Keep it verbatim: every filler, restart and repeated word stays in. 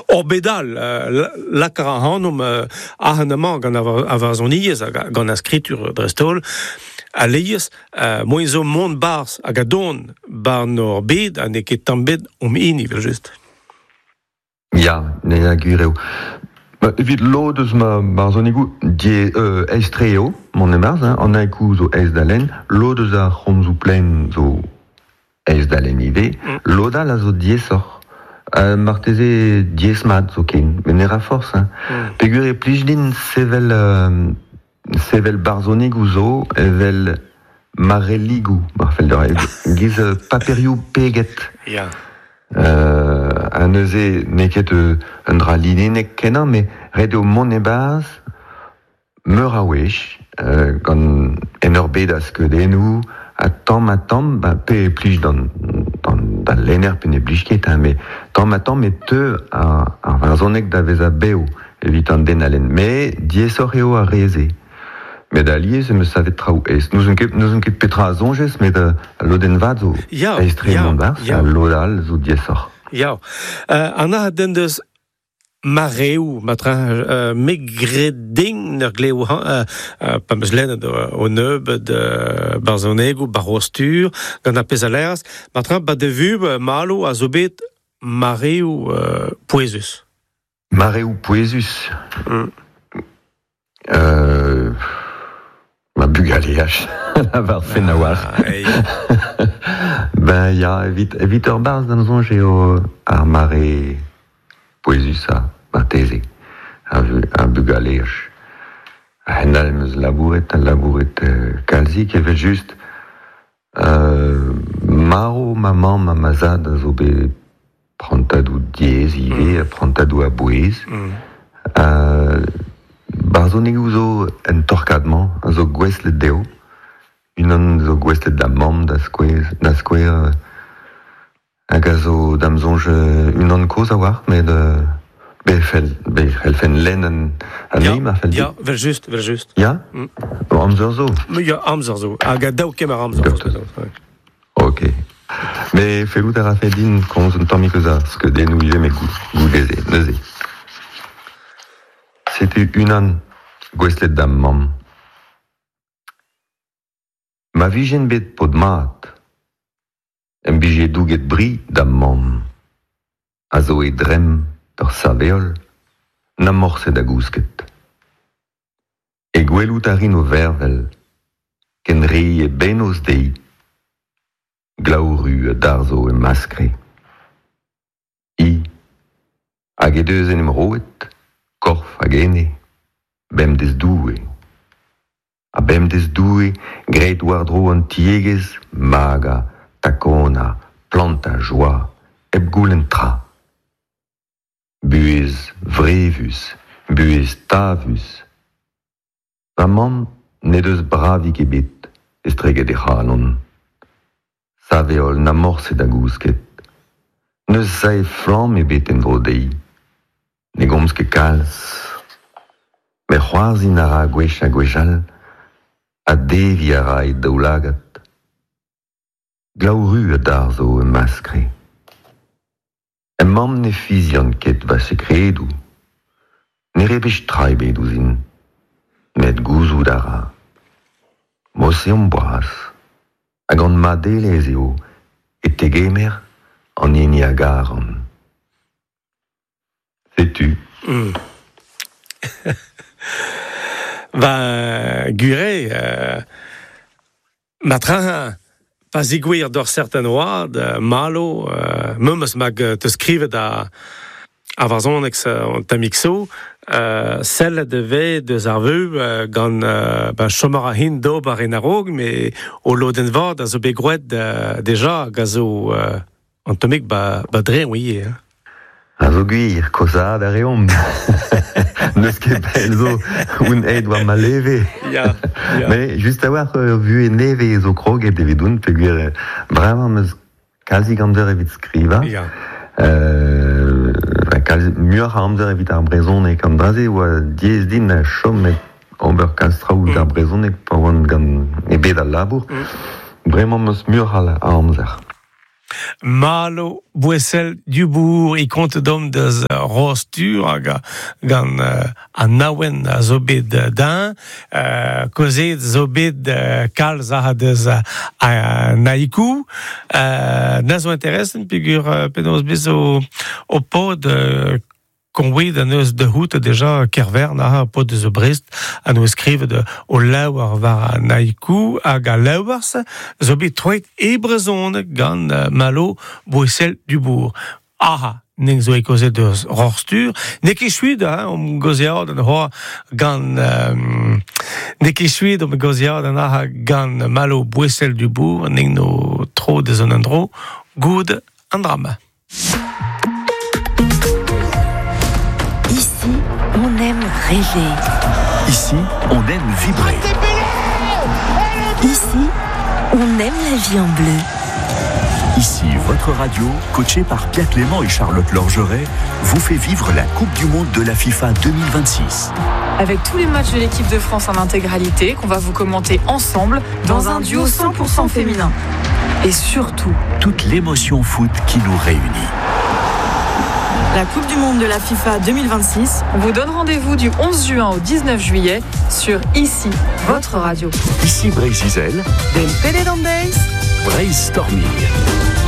Ur bedal, euh, lakar ac'hanomp euh, ac'han gant ar varzhoniezh hag gant ar skritur dreist-holl, a leiz, euh, moen zo mont barzh hag a don bar nor bed ha n'eo ket tamm bet om hini, vel just. Ya, ne a gwir eo. Ba, evit lod eus ma barzhonigoù die euh, aes-tre eo, mont e-barzh, hein, an haiku zo aes da lenn, lod eus ar c'homzoù plaen zo aes da lenn ivez, mm. Lod all a zo diaesoc'h. Euh, marteze diaes-mat zo ken, met ne ra forzh. Hein. Mm. Peogwir e plij din sevel, euh, sevel barzhonigoù zo evel marelligoù, mar fell deoc'h, giz paperioù peget. Ya. Euh, ha neuze n'eo ket un dra linennek kenañ, met ret eo mont e-barzh meur a wech, euh, gant en ur bed a skeudennoù, ha tamm ha tamm, ba, pe e plij d'an, d'an, d'al lenner pe ne blij ket, hein, met tamm ha tamm e teu ar, ar varzhoneg da vezañ bev evit an den a lenn. Met diaesoc'h eo ar re-se. Met alies em eus savet traoù aes. N'ouzon ket, n'ouzon ket petra a soñjez, met uh, al lodenn vat zo Ya, aes-tre ya, mont barzh, ya. al lod all zo diaesoc'h. Ya. Euh, an a den deus mareoù, matra, euh, me gred din ur glev euh, euh, pa meus lennet o nebeud euh, barzhonegoù, barostur, gant ar pezh a leraz, matra, ba de vu, malo a zo bet mareoù euh, pouezus. Mareoù pouezus. Mm. Euh, ma bugaleaj, la war fen a-walc'h. Ah, Ben ya, evit, evit ur barzh d'am soñj eo ar mare pouezusañ, marteze, ar, ar bugaleaj. A-hend-all em eus labouret, ha labouret euh, kalzik, evel just. Euh, marv ma mamm ha ma zad a zo bet prantadoù diaes ivez, mm. prantadoù a-bouez. Mm. Euh, barzhonegoù zo en torkad-mañ, a zo gouestlet dezho. Unan zo gouestlet da mamm, da skouer, da skouer, hag a zo d'am soñj unan kozh a-walc'h, met euh, be fell, be c'hellfen lenn an, anezhi, ma fell Ya, vel just, vel just. Ya? Mm. Amzer zo. Ya, amzer zo. Hag a daou kemer amzer. Docteur. Ok. Mais fellout a rafe din komz un tammig eus ar skeudennoù ivez, met goude-se, neuze. Setu unan gouestlet d'am mamm. Ma vijen bet paotr mat, em bije douget bri d'am mamm, a zo e dremm ur sav-heol, na morse da gousket. E gwelout a rin o vervel, ken re e bennozh dezhi, glav-ru a darzho e maskre. Hi, hag he deus en em roet, korf hag ene, bemdez Doue. Ha bemdez Doue, graet war-dro an tiegezh, magañ, takonañ, plantañ joa, hep goulenn tra. Buhez vrevus, buhez tavus. Va mamm n'he deus bravig ebet estreget he c'halon. Sav-heol na morse da gousket. N'eus sae flamm ebet en-dro dezhi. Ne gomz ket kalz. Met c'hoarzhin a ra gwech ha gwech all, ha deviñ a ra e daoulagad. Glav-ru a darzho e maskre. Em mamm ne fizian ket va sekredoù. Ne rebech tra ebet ouzhin. Met gouzout a ra. Mod-se omp boaz. Hag gant madelezh eo e tegemer an hini a garan. Setu. Mm. Va gure, euh, matra, pa zigouir d'ur certain oad, euh, malo, euh, memes mag te skrivet a a varzhoneg an tammig zo, euh, sellet e vez deus ar veu euh, gant euh, ben, chom a hin d'ober en a-raok, met o lodenn vat a zo bet groet euh, deja hag a zo euh, an tammig ba, ba dreñv ivez. Hein. A zo gwir, kozhaat a reomp. N'eus ket pell zo oun aet war ma leve. Ya, ya. Mais just a-walc'h ur vuhez nevez zo kroget evidoun, peogwir bremañ am eus kalzik amzer evit skrivañ. Ya. Euh, kalz muioc'h a amzer evit ar brezhoneg. An dra-se oa diaes din chom met ober kalz traoù Mm. d'ar brezhoneg pa oan gant e bed al labour. Mm. Bremañ am eus muioc'h a amzer. Malo Bouessel Dubourg e kont dom deus Rostur hag gant uh, an aouen a zo bet din, uh, kozet zo bet uh, kalz a deus uh, naikou, uh, na zo interessen pegur uh, penaos bez o, o pod uh, konwed an eus de hout deja kervern a pod deus Brest an eus skrivet o laouar war an haiku hag a laouars zo bet troet e brezhoneg gant Malo Bouessel Dubourg. Aha, neng zo e kozet deus Rorstur, ne ket chuid, hein, om gozead an hoa gant... Um, ne ket chuid om gozead an aha gant Malo Bouessel Dubourg, neng no tro deus an andro, goud an drama. Ici, on aime rêver. Ici, on aime vibrer. Ici, on aime la vie en bleu. Ici, votre radio, coachée par Pierre Clément et Charlotte Lorgeret, vous fait vivre la Coupe du Monde de la FIFA deux mille vingt-six. Avec tous les matchs de l'équipe de France en intégralité, qu'on va vous commenter ensemble dans, dans un duo cent pour cent féminin. Et surtout, toute l'émotion foot qui nous réunit. La Coupe du Monde de la FIFA deux mille vingt-six, on vous donne rendez-vous du onze juin au dix-neuf juillet sur Ici, votre radio. Ici Breizh-Izel, Del P D Days, Breizh Storming.